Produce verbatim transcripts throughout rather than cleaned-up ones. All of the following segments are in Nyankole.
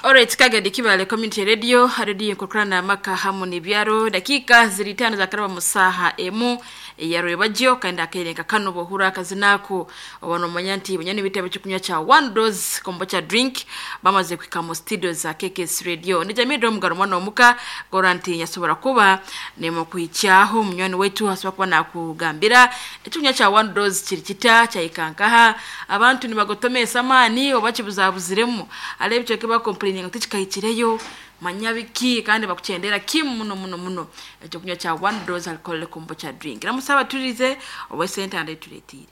Alright, Kagadi Kibale Community Radio, radio nkukurana amaka hamu n'ibyaro. Dakika ziri tano za karaba musaha emu ya rwebagyo kandi akerenka kano bohura akazinako obanomanya nti bunyani bitabo cyo cha one dose kombocha drink bamaze kwika mu studio za K K S Radio. Ni jamii ndo mugaro mwana omuka goranti nyasobora kuba nemo kuichaho munywani wetu haswa kuba nakugambira ekyunya cha one dose kiri kita cha ikankaha abantu nibagotome samani obakibuzabuziremu alebyo kiba complaining ati kikahikireyo manyabiki kandi bakuchendera kimu muno muno muno ekyo kunywa cha one dose alcohol kombocha drink namusaba turize owe center and turetire.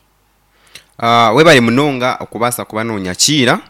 Ah uh, webali munonga okubasa kuba nonyakira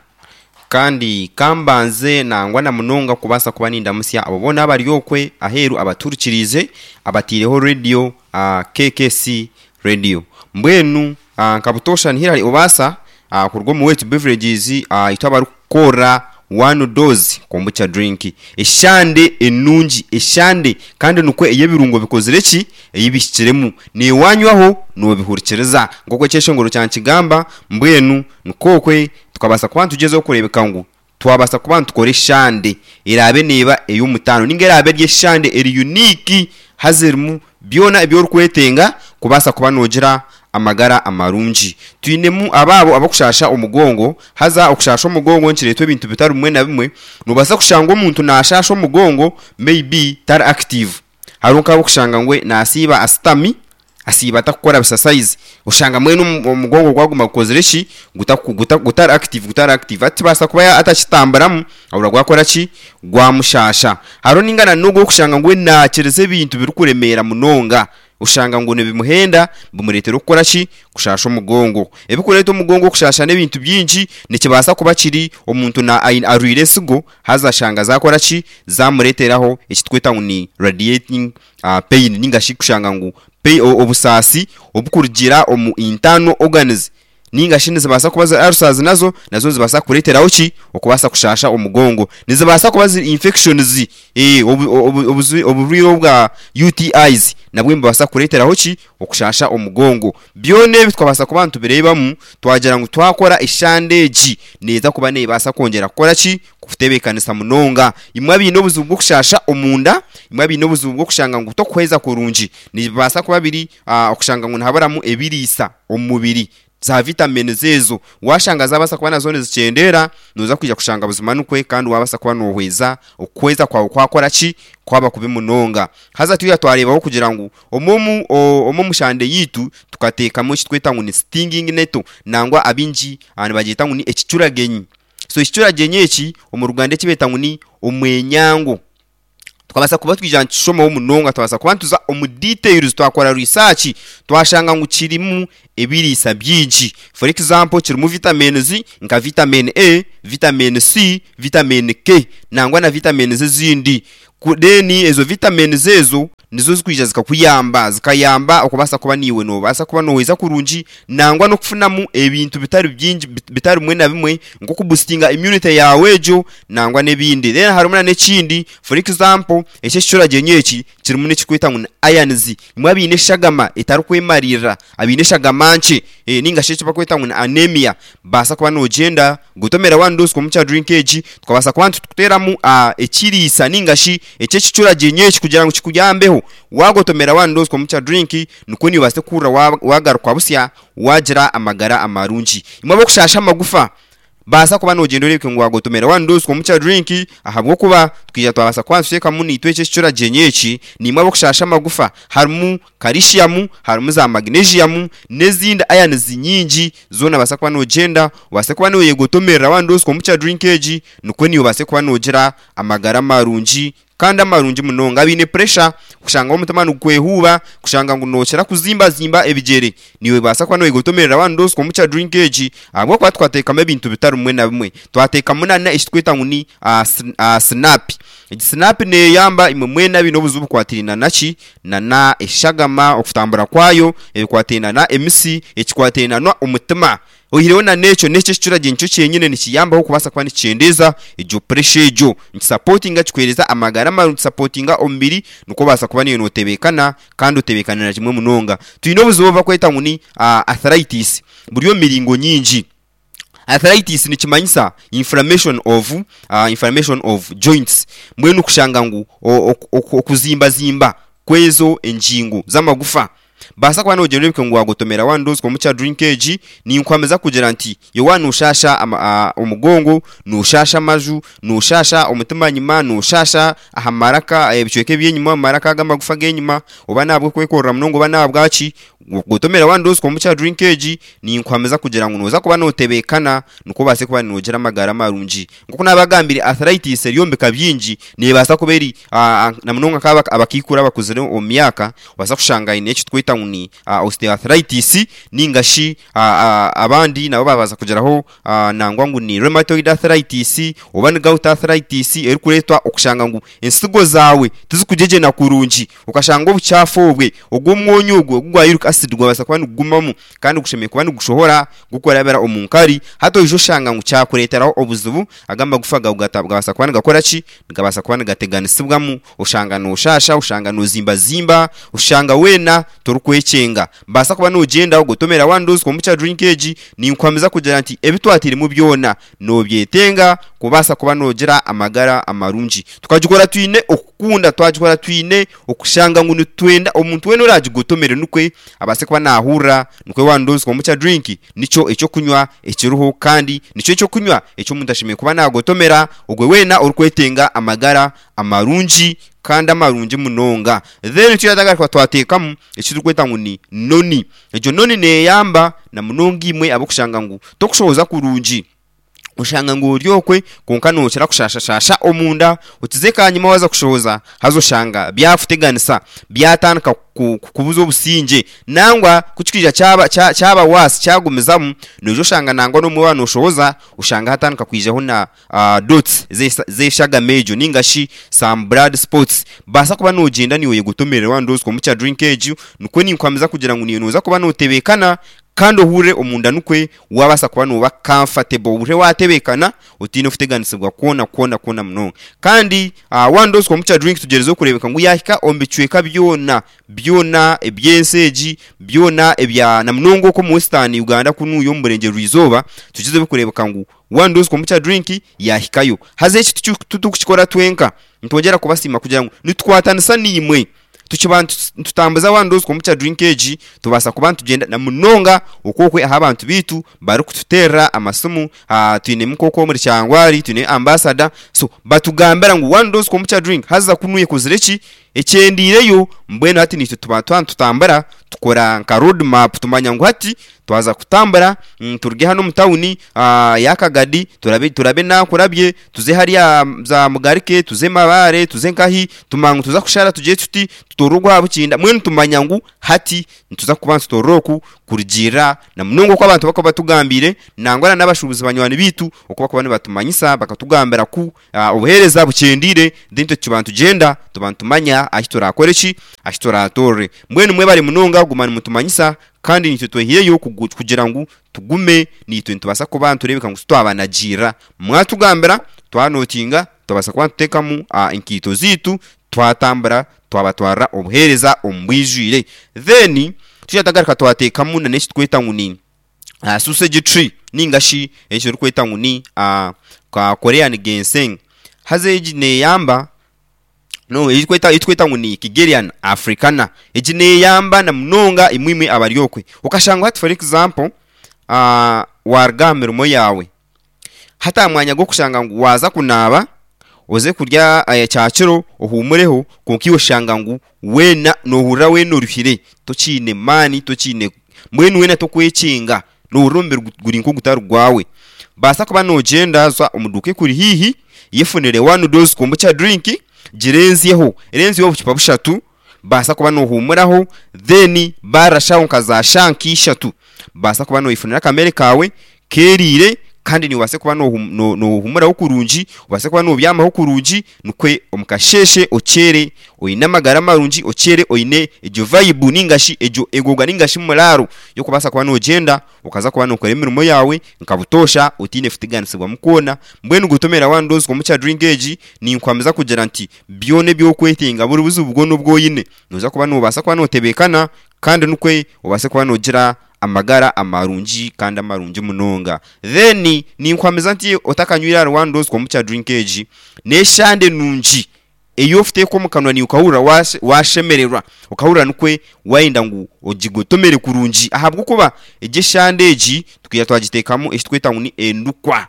kandi kambanze nangwa na munonga kubasa kuba nindamusya abo bona abari okwe aheru abaturukirize abatireho radio uh, K K C radio mbwenu uh, nkabutosha nihirari obasa uh, kurwo mu wetu beverages uh, itwabarukora one dose kombucha drink eshande enungi eshande kandi nukwe eyebirungo bikozire ki eyibishikiremu ni wanywaho nobihurikiriza ngoko cyeshongoro cyankigamba mbwenu nukokwe tukabasa kuba tugezeho kurebeka ngu twabasa kuba tukore eshande erabe neba ey'omutano ninga erabe ry'eshande eri unique hazirimu byona ebyorukwetenga kubasa kuba nogira amagara amarungi. Twinemu ababo abakushasha omugongo haza okushasha omugongo nkiretwa ebintu bitari bimwe na bimwe nubasa kushanga omuntu nashasha omugongo maybe tar active harunka abokushanga ngwe nasiba asitami asiba atakukora exercise ushanga mwene omugongo gwaguma gukozire ki guta gutar active gutar active ati basa kuba atakitambaramu abura gwakora ki gwamushasha. Haro ningana nugo kushanga ngwe nakireze ebintu birukuremera munonga ushanga ngo nibimuhenda bimuretera okukora ki kushasha omugongo. Ebikureta omugongo kushasha n'ebintu byingi nikibasa kuba kiri omuntu na arwire esigo haza shanga zakora ki zamureteraho ekitweta ngu ni radiating uh, pain ninga shi kushanga ngu obusasi obukurugira omu internal organs ninga shi nizibasa kuba za ulcers nazo nazo zibasa kureteraho ki okubasa kushasha omugongo nizibasa kuba zi infections eh oburwire obwa U T Is nabwe mbasa kureteraho ki okushasha omugongo. Byone bitwabasa kuba tubirebamu twagira ngu twakora eshandeji neza kuba nebasa kongera kukora ki kutebekanisa munonga imwe abine obuzibu bwo kushasha omunda imwe abine obuzibu bwo kushanga ngu tokuheza kurungi nibasa kuba biri okushanga ngu nhabaramu ebirisa omubiri za vitamini zezo washanga zabasa kuba nazo zicendera noza kwija kushanga buzima nukwe kandi wabasa kuba nohweza okweza kwawe kwakora ki kwaba kubi munonga. Haza tuya twarebaho kugira ngu omumu omumu shande yitu tukatekamo kitweta ngu ni stinging neto nangwa abinji abantu bagita ngu ni ekicuragenyi. So ekicuragenyi eki omu Ruganda ekibeta ngu ni omwenyango twabasa kuba twija ntishomaho munonga twabasa kuba ntuza omu details twakora research twashanga ngu kirimu ebirisa byingi. For example kirimu vitamins nka vitamin A, vitamin C, vitamin K nangwa na vitamins ezindi. Then ezo vitamins ezo nizo zikwija zikakuyamba zikayamba okubasa kuba niwe nobasa kuba noheza kurungi nangwa nokufunamu ebintu bitari byingi bitari mwe na bimwe nko kuboostinga immunity yawe ejo nangwa nebindi. Then harumuna nekindi for example ekyo kicuragenye eki kirimu nekikweta ngu irons imwe abine eshagama etarukwemarira abine eshagama nche e, ninga shi bakweta ngu anemia basa kuba nogenda gutomera one dose kombucha drink egi tukabasa kuba tukuteramu uh, ekirisa ninga shi ekyo kicuragenye eki kugira ngu kikuyambeho wagotomera one dose kombucha drink nuko ni base kura wagaruka busya wagira amagara amarungi. Imwe bokushasha amagufa basa kuba nogenda orebeke ngu wagotomera one dose kombucha drink ahabwo kuba twija twabasa kwansheka muni itwe ekicuragenye eki nimwe bokushasha amagufa harimu calcium harimu za magnesium n'ezindi ions nyingi zona basa kuba nogenda wase kuba noyegotomera one dose kombucha drink egi nuko niyo base kuba nogira amagara amarungi kandi amarungi munonga. Abine pressure kushanga omutima nugwehuba kushanga ngu nokera kuzimba zimba ebigere niwe basa kuba noyegotomerera one dose kombucha drink egi abwo kwa twatekamo ebintu bitari mwe na bimwe twateka munana ekitweta ngu ni uh, uh, snap snap ne yamba imwe mwena bino obuzubu kwatirina naki na na eshagama okutambura kwayo ebikwatirina na M C ekikwatirina na omutima oyireho na necho necho ekicuragenye nicyo kyenyine nikiyambaho kubasa kuba nikicendeza ejo pressure ejo nikisupportinga kikwereza amagara amarungi supportinga omubiri nuko basa kuba niyo notebekana kandi otebekanira kimwe munonga. Twine obuzibu bakweta ngu ni uh, arthritis buriyo miringo nyingi. Arthritis nikimanyisa inflammation of uh, inflammation of joints. Mbwenu kushanga ngu okuzimbazimba kwezo enjingo z'amagufa. Basa kuba nogira ngu wagotomera one dose komukya drink egi, ninkwameza kugira nti yowa nushasha omugongo, nushasha amaju, nushasha omutima nyima, nushasha aha maraka ebicweka ebyenyima, amaraka g'amagufa g'enyima, oba nabwo kwekorera munongo oba nabwaki, gotomera one dose komukya drink egi, ninkwameza kugira ngu noza kuba notebekana nuko base kuba nogira amagara marungi. Nkuko nabagambire arthritis eryombeka byingi nebasa kuba eri na munonga kaba abakikura abakuzire omu myaka, basa kushanga ine eki twita ngu ni osteoarthritis, ningashi abandi nabo babaza kugeraho nangwa ngu ni rheumatoid arthritis oba ni gout arthritis, erikuretwa okushanga ngu ensigo zawe tizikujejena kurungi, ukashanga obuchafu obwe ogw'omwonyo ogwo gwa uric acid gwabasa kuba nigugumamu kandi gushemeye kuba nigushohora gukorabera omunkari, hato ijo shanga ngu cyakureteraho obuzibu agamba gufa gabasa kuba nigakora ki, gabasa kuba nigateganisibwamu, ushanga noshasha, ushanga nozimba zimba, ushanga wena torukwecenga. Basa kuba nogenda ugotomera one dose komukya drink egi, ninkwameza kugira nti ebitwatirimu byona nobyetenga kubasa kuba nogira amagara amarungi. Tukagikora twine okukunda, twagikora twine okushanga ngu nitwenda omuntu wena oragigotomere nukwe abase kuba nahurra nukwe one dose komukya drink nico ekyo kunywa ekiruho, kandi nico ekyo kunywa ekyo omuntu ashemeye kuba nagotomera ogwe wena orukwetenga amagara amarungi kandi amarungi munonga. Then tuyatagaruka twatekamu ekirikweta ngu ni noni. Egyo noni neyamba na munonga imwe abokushanga ngu tokushoboza kurungi, ushanga ngu oryokwe konka nokira kushashashasha omunda, otize kanyuma waza kushoboza hazo shanga byakuteganisa byatandika kubuza obusinge, nangwa kukikija cyaba cyaba wasi cyagumizamu nojo shanga nangwa no mwana oshoboza ushanga hatandika kwijaho na uh, dots zeshaga mejo ningashi some blood spots. Basa kuba nogenda niwe yegotomerera one dose komukya drink egi, nukwe ninkwameza kugira ngu niyo noza kuba notebekana kandi ohure omunda nukwe wabasa kuba noba comfortable, uhure watebekana otine kuteganisibwa kwona kwona kwona munonga. Kandi uh, one dose komukya drink tugereze okurebeka ngu yahika ombicweka byona byona ebyenseji byona ebya na munongo ko mu Western Uganda kunuyo murenge rwizoba, tukize kurebeka ngu one dose komukya drink yahikayo. Haze eki tutukikora twenka ntongera kubasima kugira ngu nitwatanisa nimwe tukiba tutambuza one dose komukya drink egi, tubasa kuba tugenda na munonga okokwe aha abantu bitu bari kututerra amasimu, twine mukoko muri cyangwari, twine ambassador, so batugambira ngu one dose komukya drink haza kunuye kuzire ki ekyendireyo. Mbwenu hati nitwe tuba tutambara tukora nka road map, tumanya ngu hati twaza kutambara mm, turuge hano mu tawuni yakagadi, turabe turabe nakurabye tuze hariya za mugarike, tuze mabare, tuze nkahi, tumangu tuza kushara tuje tuti tutorugwa bukinda. Mwenu tumanya ngu hati ntuza kuba tutoroku kurugira na munongo kwa abantu bakaba batugambire nangwa n'abashubuzi banywani bitu okuba kuba nibatumanyisa bakatugambira ku uh, obuhereza bukendire dinto kibantu genda tubantumanya ahi turakore ki ahi turatore. Mbwenu mwe bari munonga gumana mutumanyisa kandi nitwe twehiyeyo kugira ngu tugume nitwe ntubasa kuba turebeka ngu twabanagira mwatugambira twanotinga tubasa kuba tutekamu uh, inkito zitu twatambara twabatwara obuhereza ombwijwire. Then tuyatagaruka twatekamu na neki tweta ngu ni uh, sausage tree ningashi ekyo rukweta ngu ni uh, ka Korean ginseng. Haze egi neyamba no ikweta itweta ngu ni Kigerian Africana, egi neyamba na munonga imwimwe abaryokwe. Ukashanga hati for example uh, warga mirimo yawe hata mwanya go kushanga ngu waza kunaba oze kurya uh, cyakiro ohumureho, konki oshanga ngu wena nohurra wena oruhire tokine mani tokine mwenu wena tokwekinga norumbir guri nko gutarugwawe. Basa kuba nogenda za omuduke kuri hihi yefunire one dose kombucha drink girenziyeho erenziyeho obucupa bushatu, basa kuba nohumuraho then barashaho nka za shanki ishatu, basa kuba noyifunira akamere kawe kerire kandi niwase kuba nohumuraho kurungi, ubase kuba nobyamaho kurungi nukwe omukasheshe ochere oyine amagara marungi, ochere oyine ejo vibe ningashi ejo egoga ningashi muraro yokubasa kuba nogenda ukaza kuba nokora emirimo yawe nkabutosha otine futiganisibwa mukona. Mbwenu gutomera one dose komukya drink egi ninkwameza kugira nti byone byokwetenga buri buzibu bwo nobwoyine noza kuba nobasa kuba notebekana kandi nukwe ubase kuba nogira amagara amarungi kandi amarungi munonga. Then ninkwamiza nti otakanywire ahari One Dose Kombucha drink egi n'eshande nungi eyo ofiteeka omu kanwa niiwe okahurira washemererwa, okahurira nikwe wayenda ngu ogigotomere kurungi, ahabw'okuba egi eshande egi twija twagiteekamu ekitweta ngu ni endukwa.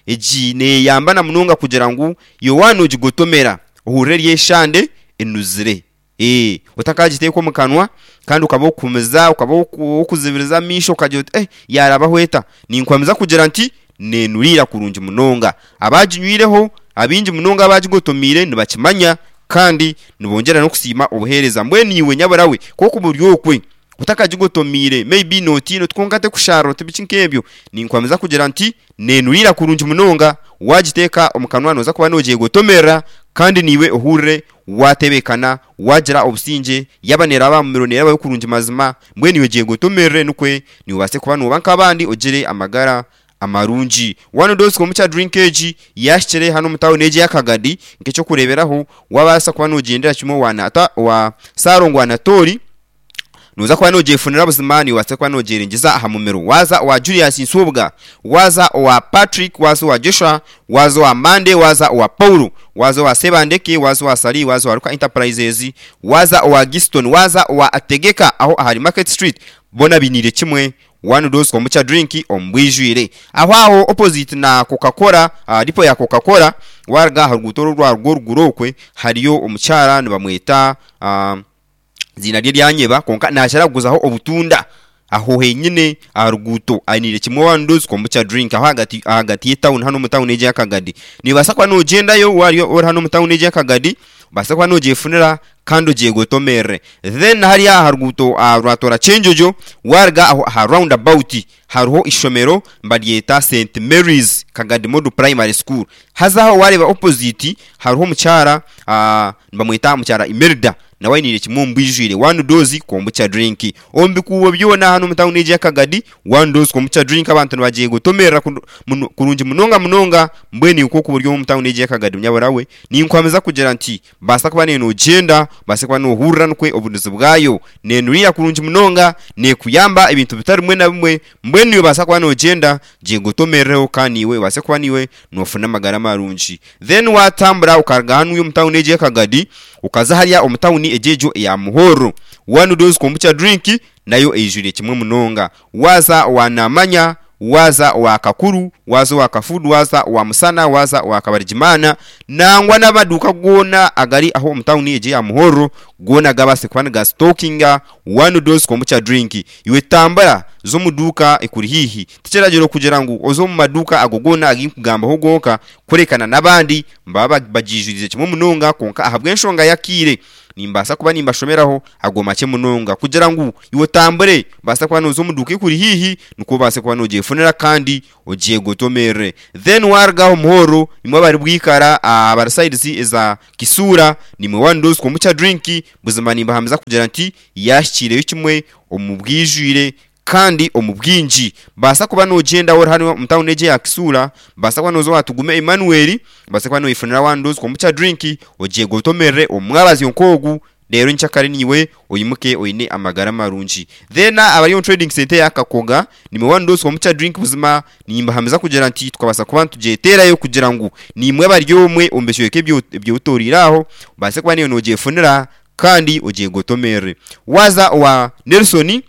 Egi neeyamba na munonga kugira ngu iwe waaba noogigotomera ohurire eri eshande enuzire. Ee otakagiteeka omu kanwa kandi okaba okuhumiza okaba okuzibiriza amaisho okagira oti eh yaarabaho eta? Ninkwamiza kugira nti neenuriira kurungi munonga. Abaginywireho abaingi munonga abagigotomeire nibakimanya kandi nibongyera n'okusiima obuheereza. Mbwenu iwe nyabura we k'okuba ori okwe otakagigotomeire maybe nootiina oti kwonka tekusharira oti biki nk'ebyo, ninkwamiza kugira nti neenuriira kurungi munonga, waagiteeka omu kanwa nooza kuba noogyegotomerera kandi naiwe ohurire waatebeekana, waagira obusingye, yaaba neeraba aha mumiro neerabayo kurungi mazima, mbwenu iwe gyegotomerere nikwe niiwe obaase kuba nooba nk'abandi ogire amagara amarungi. One Dose Kombucha drink egi yaahikire hanu omu tawuni egi eya Kagadi nk'ekyokureeberaho waabaasa kuba noogyendera kimwe owa Nata owa Saalongo Anatoli, nooza kuba noogyefunira buzima noobaasa kuba noogyerengyeza aha mumiro. Waaza owa Julius Nsubuga, waaza owa Patrick, waaza owa Joshua, waaza owa Monday, waaza owa Paulo, waaza owa Sebandeke, waaza owa Sali, waaza owa Ruka Enterprises, waaza owa Giston, waaza owa Ategeka aho ahari Market Street, boona bainiire kimwe One Dose Kombucha drink omu bwijwire. Aho aho opposite na Coca-Cola, uh, dipo ya Coca-Cola, waaruga aha ruguuto oru orwarugwa oruguru okwe hariyo omukyara nibamweta uh, eiziina rye ryanyeba kwonka naakira kuguzaho obutunda aho henyine aha ruguuto ainiire kimwe One Dose Kombucha drink aho ahagati ahagati y'etawuni hanu omu tawuni egi eya Kagadi. Noobaasa kuba noogyendayo waaba ori hanu omu tawuni egi eya Kagadi obaase kuba noogyefunira kandi ogyegotomerere. Then hariya aha ruguuto uh, rwatoora Kyenjojo waaruga aho aha round about hariho ishomero nibaryeta Saint Mary's Kagadi Model Primary School. Haza aho waareeba opposite hariho omukyara uh, nibamweta mukyara Imelda nawe ainiire kimwe omu bwijwire One Dose Kombucha drink. Omu bikuubo byona hanu omu tawuni egi eya Kagadi, One Dose Kombucha drink abantu nibagyegotomerera kurungi munonga munonga. Mbwenu iwe nk'oku ori omu tawuni egi eya Kagadi nyabura we, ninkwamiza kugira nti baasa kuba noogyenda, obaase kuba noohurira nikwe obunuzi bwayo. Neenuriira kurungi munonga, neekuyamba ebintu bitari bimwe na bimwe. Mbwenu iwe baasa kuba noogyenda, gyegotomerereho kandi iwe obaase kuba niiwe noofuna amagara marungi. Then waatambura okaruga hanu omu tawuni egi eya Kagadi, okaza hariya omu tawuni egi egyo eya Muhorro, One Dose Kombucha drink nayo eijwire kimwe munonga. Waaza owa Namanya, waaza owa Kakuru, waaza owa Kafudu, waaza owa Musana, waaza owa Kabarigimana, nangwa n'amaduuka goona agari aho omu tawuni egi eya Muhorro goona gabaase kuba nigasitokinga One Dose Kombucha drink. Iwe tambura za omu duuka ekuri haihi. Tikiragiro kugira ngu oze omu maduuka ago goona agu nkugambaho gonka, kurekana n'abandi nibaba bagiijurize kimwe munonga kwonka ahabw'enshonga y'akaire nimbaasa kuba nimbashomeraho ago makye munonga kugira ngu iwe otambure obaase kuba nooza omu duuka ekuri haihi nikwo obaase kuba noogyefunira kandi ogyegotomerere. Then waaruga aho Muhorro imwe abari Bwikara abari sides eza Kisuura nimwe One Dose Kombucha drink buzima nimbahamiza kugira nti yaahikiireyo kimwe omu bwijwire kandi omu bwingi. Baasa kuba noogyenda ori hanu omu tawuni egi eya Kisuura, baasa kuba nooza owa Tugume Emmanuel, obaase kuba nooyefunira One Dose Kombucha drink ogyegotomerere omu mwabazyo nk'ogu reero nyenkyakare naiwe oimuke oine amagara marungi. Then abari omu trading centre eya Kakoga nimwe One Dose Kombucha drink buzima nimbahamiza kugira nti tukabaasa kuba nitugyeteerayo kugira ngu niimwe abari omwe omu bicweka ebi otooriire aho obaase kuba naiwe noogyefunira kandi ogyegotomerere. Waaza owa Nelson,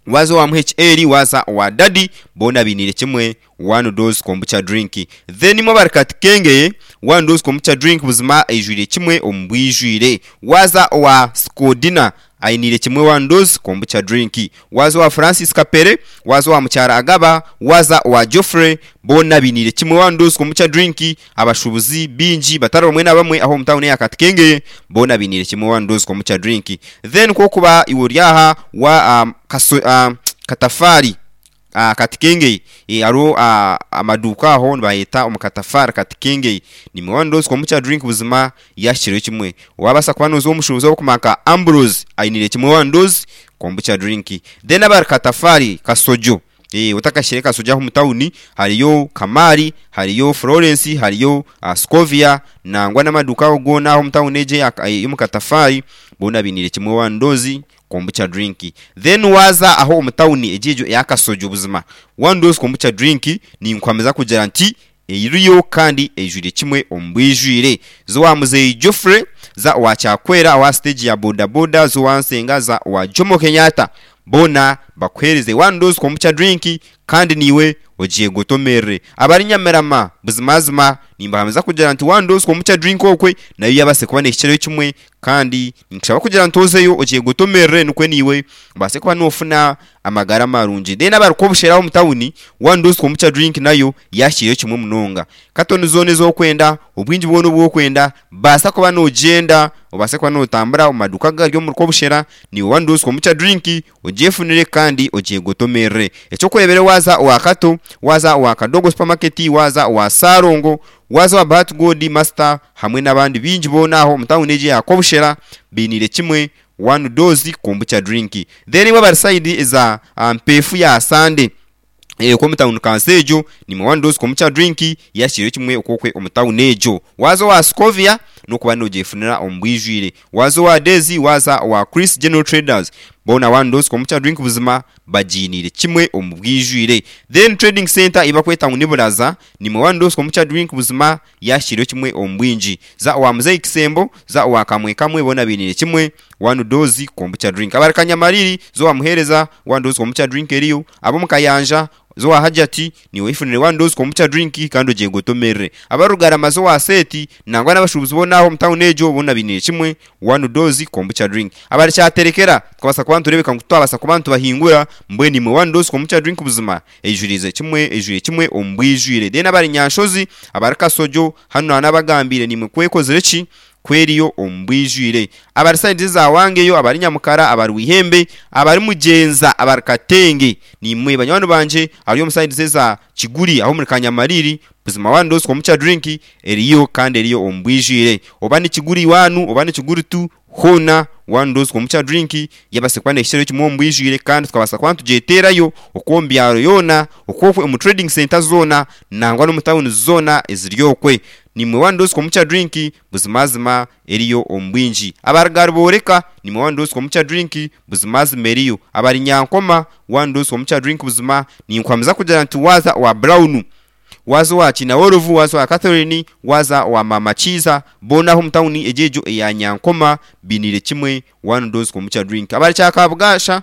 waaza owa M H L, waaza owa Dadi, boona bainiire kimwe One Dose Kombucha drink. Then imwe abari Katikengeye, One Dose Kombucha drink buzima eijwire kimwe omu bwijwire. Waaza owa Skodina ainiire kimwe One Dose Kombucha drink. Waaza owa Francis Kapere, waaza owa Mukyara Agaba, waaza owa Geoffrey, boona bainiire kimwe One Dose Kombucha drink. Abashuubuzi baingi batari bamwe na bamwe aho omu tawuni eya Katikengeye boona bainiire kimwe One Dose Kombucha drink. Then kwokuba iwe ori aha wa um, kaso, uh, Katafaari uh, Katikengeye, e, hariho uh, amaduuka aho nibayeta omu Katafaari Katikengeye, nimwe One Dose Kombucha drink buzima yahikireyo kimwe. Waabaasa kuba nooza omushuubuzi ow'okumanya nka Ambrose ainiire kimwe One Dose Kombucha drink. Then abari Katafaari Kasojo, e, otakahikire Kasojo aho omu tawuni hariyo Kamari, hariyo Florence, hariyo uh, Scovia nangwa n'amaduuka ago goona aho omu tawuni egi ey'omu Katafaari boona bainiire kimwe One Dose kombucha drink. Then waza aho omu tawuni egyo eya Kasojo, buzima one dose kombucha drink ninkwamiza kugira nti eriyo kandi eijwire kimwe omu bwijwire. Zo muzeyi Geoffrey, za wa Kyakwera wa stage ya boda boda, zo wansenga, za wa Jomo Kenyatta, bona bakuhereze one dose kombucha drink kandi niwe ogiye gotomerere. Abari Nyamirama, buzimazima nimbahamiza kugira nti one dose kombucha drink okwe nayo yabase kuba nekikiro kimwe, kandi nkushaba kugira nti ozeyo ogiye gotomerere nukwe niwe ubase kuba nofuna amagara marungi. Then abarikobusheraho mu tawuni, one dose kombucha drink nayo yashyiriyeho kimwe munonga. Katoni zone zokwenda obwingi bwona obwokwenda, basa kuba nogenda obase kuba notambura omu maduka gari omu rukobushera, ni one dose kombucha drink ogyefunire kandi ogiye gotomerere. Ekyokurebera, waza owa Kato, waza owa Kadogo supermarket, waza owa Sarongo, waza wa Bahati God Master hamwe n'abandi bingi boona aho omu tawuni egi yakobushera binire kimwe one dose kombucha drink. Then imwe bari side eza mpefu ya Sande eh omu tawuni Kansejo, nimwe one dose kombucha drink yashyiriweho kimwe okwokwe omu tawuni egyo. Waza owa Scovia nokuba nogyefunira omu bwijwire. Waza owa Dezi, waza owa Chris General Traders, bona one dose kombucha drink buzima bagiinire kimwe omu bwijwire. Then trading center ibakweta ngu niburaza, nimwe one dose kombucha drink buzima yashyiriweho kimwe omu bwingi. Za owa Muzeyi Kisembo, za owa Kamwe Kamwe, bona binire kimwe one dose kombucha drink. Abari Kanyamariri, zo wamuhereza, one dose kombucha drink eriyo. Abo mukayanja, zo wa Hajati, niwe ifunire one dose kombucha drink kandi ogiye gotomerere. Abarugarama, zo wa Seti, nangwa n'abashubuzi bo naho mu town ejo, bona binire kimwe one dose kombucha drink. Abari cyaterekera, twabasa kuba turebeka ngu twabasa kuba tubahingura mbwe, nimwe one dose kombucha drink buzima ejurize kimwe, ejuriye kimwe omu bwijwire. Then abari Nyanshozi, abari Kasojo hano n'abagambire, nimwe kwekozere ki kweriyo omu bwijwire. Abari side za wangeyo, abari Nyamukara, abari Wihembe, abari Mugenza, abari Katenge, nimwe banywani banje ari omu side za Kiguri aho muri Kanyamariri, buzima one dose kombucha drink eriyo kandi eriyo omu bwijwire. Oba ni Kiguri wanu, oba ni Kiguri tu, hona one dose kombucha drink yabase kuba nekikiro kimwe omu bwijwire, kandi tukabasa kuba tugyeterayo okwo omu byaro yoona, okwokwe omu trading center zona, nangwa n'omu tawuni zona eziri okwe, nimwe one dose kombucha drink buzimazima eriyo omu bwingi. Abarigari boreka, nimwe one dose kombucha drink buzimazima eriyo. Abari Nyankoma, one dose kombucha drink buzima ninkwamiza kugira nti waza wa Brown, waza wa Kinaworovu, waza wa Catherine, waza wa Mama Chiza, bonaho omu tawuni egyejo eya Nyankoma binire kimwe one dose kombucha drink. Abari Kyakabugasha,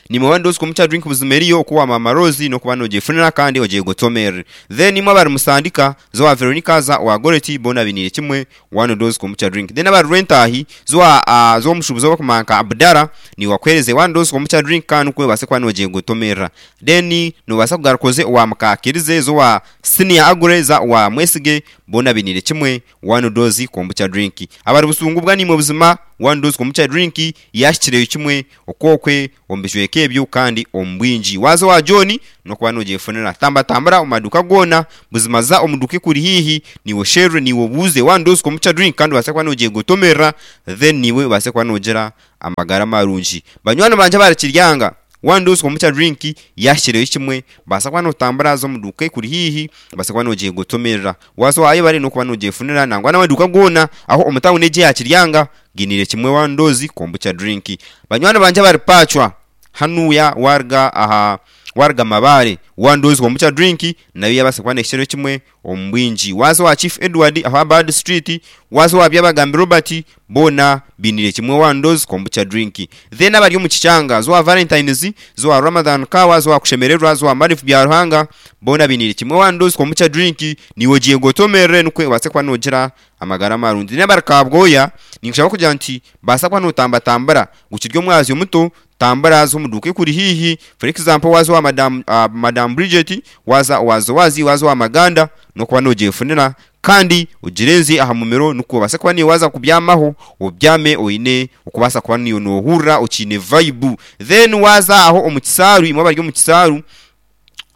nimwe one dose kombucha drink buzima eriyo okuwa Mama Rose nokuba nogyefunira kandi ogiye gotomerere. Then imwe abari Musandika, zo wa Veronica, za wa Goreti, bona binire kimwe one dose kombucha drink. Then abari Rwentahi, zo wa uh, zo omushubuzi obakumanka Abdara, ni wakwereze one dose kombucha drink kandi kwe base kuba nogiye gotomerera. Then nobasa kugarukoze wa Mukakirize, zo wa Senior Agure, za wa Mwesige, bona binire kimwe one dose kombucha drink. Abari Busungu bwa, nimwe buzima one dose kombucha drink yashikireyo kimwe okwokwe omu ebyo kandi omu bwingi. Waza wa John nokuba nogyefunira. Tambatambura omu maduka goona buzima, za omu duka ekuri hihi, niwe sherwe, niwe buuze one dose kombucha drink kandi obase kuba nogiye gotomerera, then niwe obase kuba nogira amagara marungi. Banywani banje abari Kiryanga, one dose kombucha drink yashikireyo kimwe, basa kuba notambura zo omu duka ekuri hihi, basa kuba nogiye gotomerera. Waza wayo bari nokuba nogyefunira, nangwa n'amaduka goona aho omu tawuni egi ya Kiryanga ginire kimwe one dose kombucha drink. Banywani banje abari Pacwa hanuya, warga aha warga Mabare, one dose kombucha drink nayo yabasa kuba nekikiro kimwe omu bwingi. Waza wa Chief Edward aho Bad Street, waza wa Byabagambi Robert, bona binire kimwe one dose kombucha drink. Then abari omu Kikyanga, zo wa Valentines, zo wa Ramadan kawa, zo wa kushemererwa, zo wa Marifu bya Ruhanga, bona binire kimwe one dose kombucha drink, niwe ogiye gotomerere nukwe obase kuba nogira amagara marungi. N'abari Kabwoya, ninkushaba kugira nti basa kuba notambatambura gukirya omwazyo muto, tambura zo omu duka ekuri hihi. For example, waza wa madam, uh, madam Bridget, waza waza wazi waza wa Maganda, nokuba nogyefunira kandi ogirenze aha mumero nukwo obase kuba niyo waza kubyamaho obyame oine okubasa kuba niyo nohurra okiine vibe. Then waza aho omu Kisaaru, imwe abari omu Kisaaru,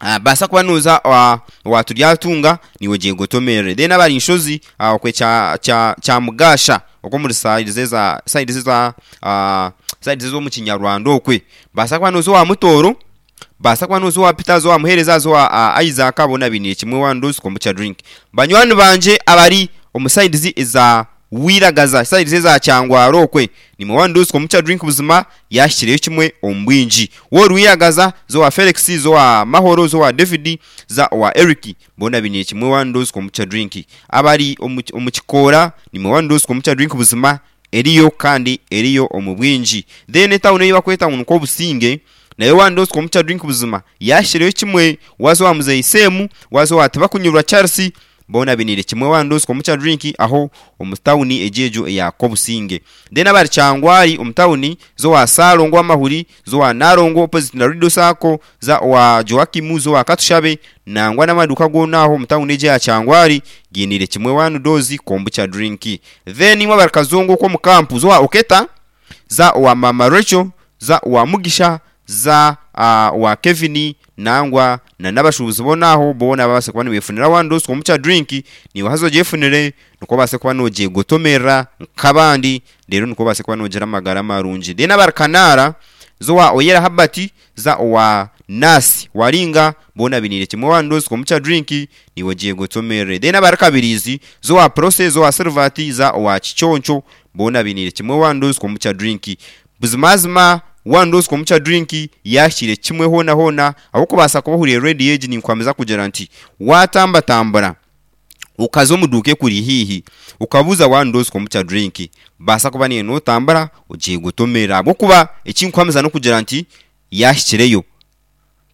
Uh, basa kuba noza wa waturyatunga, niwe giye gotomerere. Then abari Inshozi uh, okwe kya kya kya Mugasha okwo muri side za side za uh, side zo mu Kinyarwanda okwe, basa kuba noza wa Mutoro, basa kuba noza wa Peter, zo wa Muhereza, zo wa uh, Isaac, bona binire kimwe one dose kombucha drink. Banywani banje abari omu side eza wiragaza side za Kyangwaro okwe nimwe one dose kombucha drink buzima yashikireyo kimwe omu bwingi. Wori wiragaza zo wa Felix, zo wa Mahoro, zo wa David, za wa Eric, bona biniye kimwe one dose kombucha drink. Abari omu kikora nimwe one dose kombucha drink buzima eriyo kandi eriyo omu bwingi. Then town eyo bakweta nko Businge nayo one dose kombucha drink buzima yashikireyo kimwe, wazo wa Muzeyi Semu, wazo wa Tibakunyurwa Charles, bona binire kimwe one dose kombucha drink aho omutawuni ejejo ya Kobusinge. Then abari Kyangwari omutawuni zo wa Salongo amahuri, zo wa Narongo opposite na Rido Sako, za wa Joakim, zo wa Katushabe nangwa n'amaduka gonaho omutawuni eje ya Kyangwari ginire kimwe one dose kombucha drink. Then imwe barikazongo ko mukampu zo wa Oketa, za wa Mama Rachel, za wa Mugisha, za uh, wa Kevin nangwa na nabashubuzi bonaho bona babase kuba nibefunira one dose kombucha drink ni wahazo jefunire nuko base kuba noje gotomera nkabandi rero nuko base kuba nogera amagara marungi. Then abarkanara zo wa Oyera Habati, za wa Nasi Waringa, bona binire kimwe one dose kombucha drink ni wagiye gotomere. Then abarakabirizi zo wa Process, zo wa Servati, za wa Chichoncho, bona binire kimwe one dose kombucha drink buzimazima one dose kombucha drink yashire kimwe hona hona aho kubasa kubahuriye ready age ni kwameza kugira nti watamba tambara ukazo muduke kuri hihi ukabuza one dose kombucha drink basa kuba ni no tambara ugiye gutomera bwo kuba ikinkwameza no kugira nti yashikireyo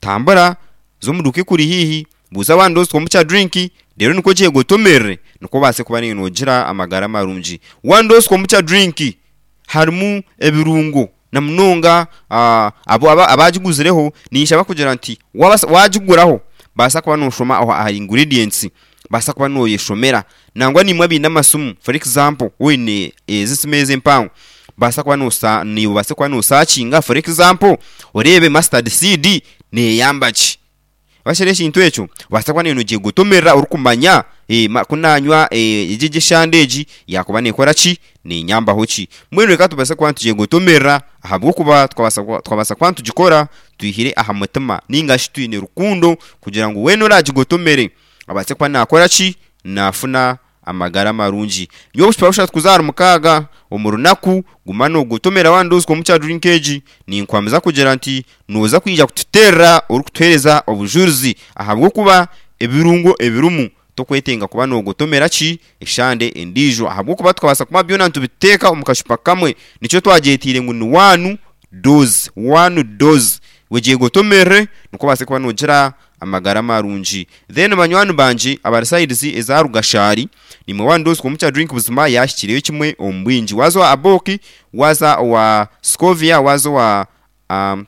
tambara zo muduke kuri hihi buza one dose kombucha drink rero niko giye gutomere niko base kuba ni nogira amagara marungi. One dose kombucha drink harimu ebirungo na munonga uh, abo abagiguzireho nisha bakugira nti wagiguraho basa kuba noshoma aho ahari ingredients basa kuba noyeshomera nangwa nimwe bina amasumu. For example wine ezisimeze mpango basa kuba nosa ni basa kuba nosakinga. For example orebe mustard seed neyambachi bashere shintu echo basa kuba ninogiye gutomera urukumanya e kunanywa ejije shandeji yakuba nekora ki nenyambaho ki mwene reka tubase kuba tugiye gutomera ahabwo kuba twabasa twabasa kuba tugikora tuyihire aha mutima ninga shitwine rukundo kugira ngo wene uragigotomere abatse kuba nakora ki nafuna amagara marungi. Nyo busha kuzara mukaga omurunaku gumano gutomera one dose kombucha drink egi ni nkwameza kugira nti noza kwija kututerra orikutuhereza obujuruzi ahabwo kuba ebirungo ebirumu tokwetenga kuba nogotomera ki eshande endijo ahabwo kuba tukabasa kuma byona ntubiteka omukashupa kamwe nico twajetire ngu ni one dose one dose wegiye gotomere nuko base kuba nogira amagara marungi. Then banywani banje abari sides ezarugashari nimwe one dose kombucha drink buzima yashikireyo kimwe ombwingi wazo wa Aboki, waza wa Scovia, wazo wa um,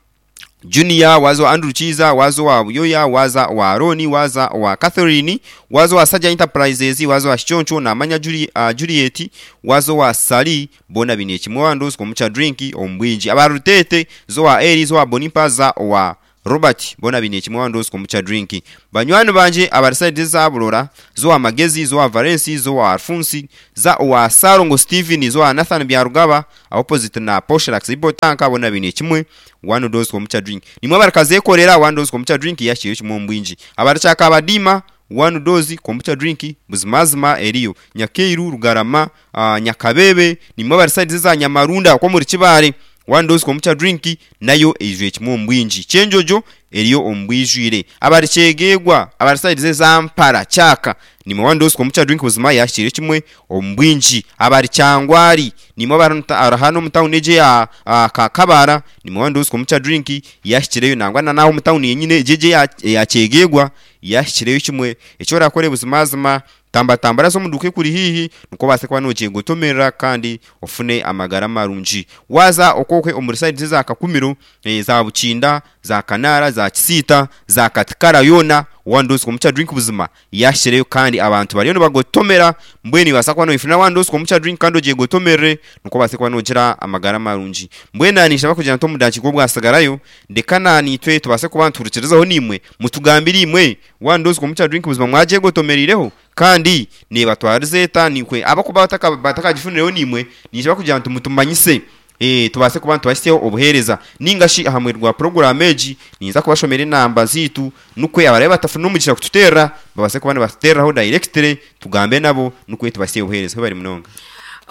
Junior, wazo wa Andrew Chiza, wazo wa Buyoya, waza wa Aroni, waza wa Catherine, wazo wa Saja Enterprises, wazo wa Choncho na Manya Juli, uh, Juliet, wazo wa Sali, bona biniye kimwe one dose kombucha drink ombwingi abarutete zo wa Eri, zo wa Bonipaza wa Robert, bona biniye kimwe one dose kombucha drink. Banywani banje abari za Burora, zo wa Magezi, zo wa Valensi, zo wa Alfonsi, za wa Sarongo Steven, zo wa Nathan Byarugaba opposite na Poshrax Ibotanka, bona biniye kimwe one dose kombucha drink. Nimwe barakaze korera one dose kombucha drink yashiye kimwe mbwinji abarachaka abadima one dose kombucha drink buzimazima eriyo Nyakeiru Rugarama, uh, Nyakabebe nimwe bari za Nyamarunda ko muri kibare one dose kombucha drink nayo eijwe kimwe mbwinji chenjojo eriyo ombwijwire abari chegegwa abari side za Mpara Chaka nimwe one dose kombucha drink buzima yashire kimwe ombwinji abari Kyangwari nimwe barahano mutawuni eje ya Kakabara nimwe one dose kombucha drink yashikireyo nangwa na naho mutawuni yenyine jeje ya, ya chegegwa yashikireyo kimwe echo rakore buzimazima tamba tambara zo muduke kuri hihi nuko base kuba nogiye gutomera kandi ofune amagara marungi. Waza okokwe omuri side za Kakumiro e, za Bukinda, za Kanara, za Kisita, za Katikara yona one dose kombucha drink buzima yashireyo kandi abantu bariyo bagotomera mbweni basakwa no ifuna one dose kombucha drink kandi ogiye gotomere nuko base kuba nogira amagara marungi. Mbwena nisha kugira nto mudachi ko bwasigarayo ndekana nitwe tubase kuba nturukirezaho nimwe mutugambira imwe one dose kombucha drink buzima mwaje gotomerireho kandi niba twarizeta nikwe abakuba bataka batakagifunirayo nimwe nisha kugira nto mutumanyise eh tubase kuba tubashyiseho obuhereza ningashi ahamwe rwa program eji niza kubashomera inamba zitu nukwe abarabe batafuna umugisha kututera babase kuba batuteraho directly tugambe nabo nukwe tubashyiseho obuhereza bari munonga.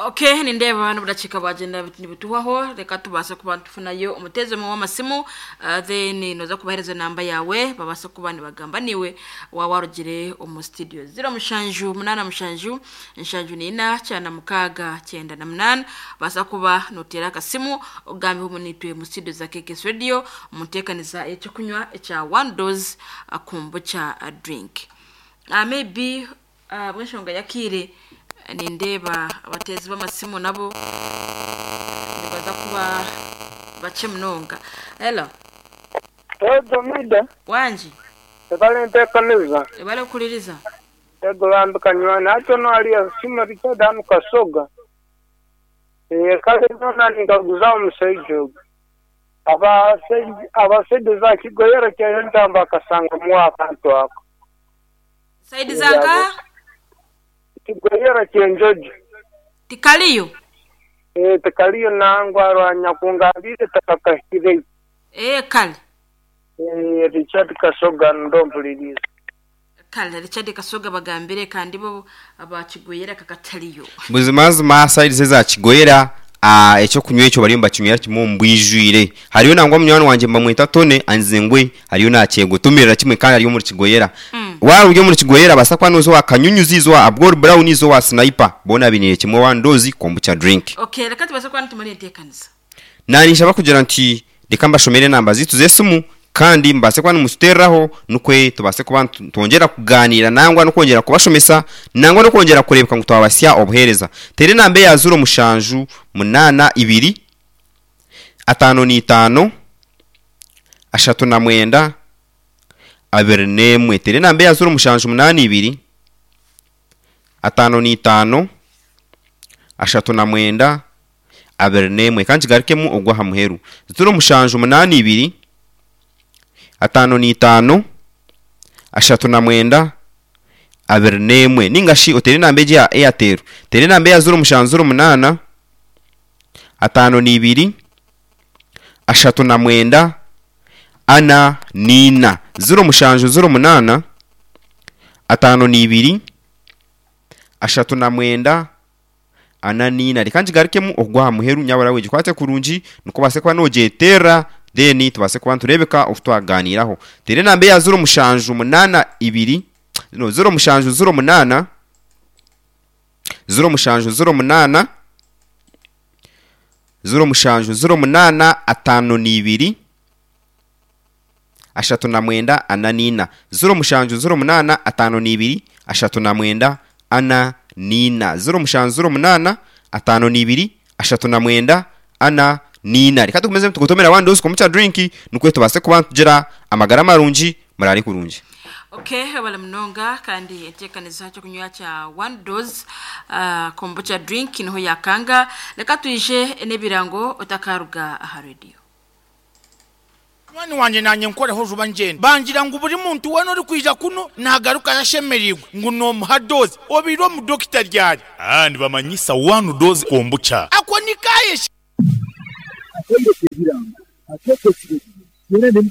Okay, nindeeba n'obudakika bwagenda nibutuhwaho, reka tubaase kuba nitufunayo omuteezi omwe w'amasimu, uh, then noza kubahereza namba yawe babaase kuba nibagamba niwe waba warugire omu studio. Ziro mushanju munana mushanju nshanju nina kyana mukaaga kyenda na munana, baasa kuba noteera akasimu ogambe omu nitwe mu studio za K K S Radio omuteekaniza ekyokunywa ekya one dose uh, kombucha uh, drink. Uh, maybe uh, bw'enshonga yakiire nindeeba abateezi b'amasimu nabo nibaza kuba bakye munonga. Hello. Ego mida. Wangi. Ebale nteekaniza. Ebale okuliriza. Ego bambikanywa nakyo naliya sima Richard hanu Kasoga. Eh kale nona ningaguza omushaija ogwo. Abashaija za Kigoyera kyentamba akasanga mu akantu ako. Saidi zanka? Kigoyera kyenjojo. Tikaliyo? Eh tikaliyo nangwa rwanya kungabire takakahire. Eh kale. Eh Richard Kasoga ndompuliriza. Kale Richard Kasoga bagambire kandi bo abakigoyera kakataliyo. Buzimazima saidi za Kigoyera ah ekyo kunywa ekyo bari mbakinywera kimwe mbwijwire. Hariyo nangwa munywani wanje mbamwita Tone anzengwe hariyo nakyegotumirira kimwe kandi hariyo muri Kigoyera. Mm. Wari uri muri Kigoyera basakwa nozo wakanyunyuzizwa abgor brown izo wa sniper bona binire kimwe wandozi kombucha drink. Okay, reka tubase kwa ntumari ntekanisa. Nani nshaba kugira nti reka mbashomere namba zitu zesimu kandi mbase kwa numusterraho nukwe tubase kuba twongera kuganira nangwa no kongera kubashomesa nangwa no kongera kurebeka ngo twabasya obuhereza. Tere nambe ya zuro mushanju munana ibiri atano ni itano ashatu na mwenda abiri nemwe. Tere nambe ya zuro mushanju munana ibiri atano ni itano ashatu na mwenda abiri nemwe. Kandi kigarukemu ogwa ha muheru zuro mushanju munana ibiri atano ni itano ashatu na mwenda abiri nemwe. Ningashi otere nambe ya Airtel tere nambe ya zuro mushanju zuro munana atano ni ibiri ashatu na mwenda ana nina zuro mushanju zuro munana atano ni ibiri ashatu na mwenda ana nina. Reka nkigarukemu ogwa muheru nyabara weje kwate kurungi nuko base kwa nojetera deni tubase kuba turebeka ofutwaganiraho. Tere nambe ya zuro mushanju munana ibiri no zuro mushanju zuro munana zuro mushanju zuro munana zuro mushanju zuro munana atano ni ibiri ashatu na mwenda ana nina zuro mushanju zuro munana atano ni ibiri ashatu na mwenda ana nina zuro mushanju zuro munana atano ni ibiri ashatu na mwenda ana nina. Reka tukomeze tugutomera wandozi kombucha drink nukwe tubase kuba tugira amagara marungi murari kurungi. Okay, wala mnonga kandi enteekaniza cyo kunywa cha one dose uh, kombucha drink niho yakanga. Reka tuije n'ebirango otakaruga aha radio. Mwani wanje nanye nkoreho juba ngenda bangira ngo buri muntu wano uri kwija kuno nagaruka yashemerirwe ngo no muhadoze obiro mu doctor ryari ah ndibamanyisa one dose kombucha ako nikaye Atembe kirango, atete kirango. Yere ndi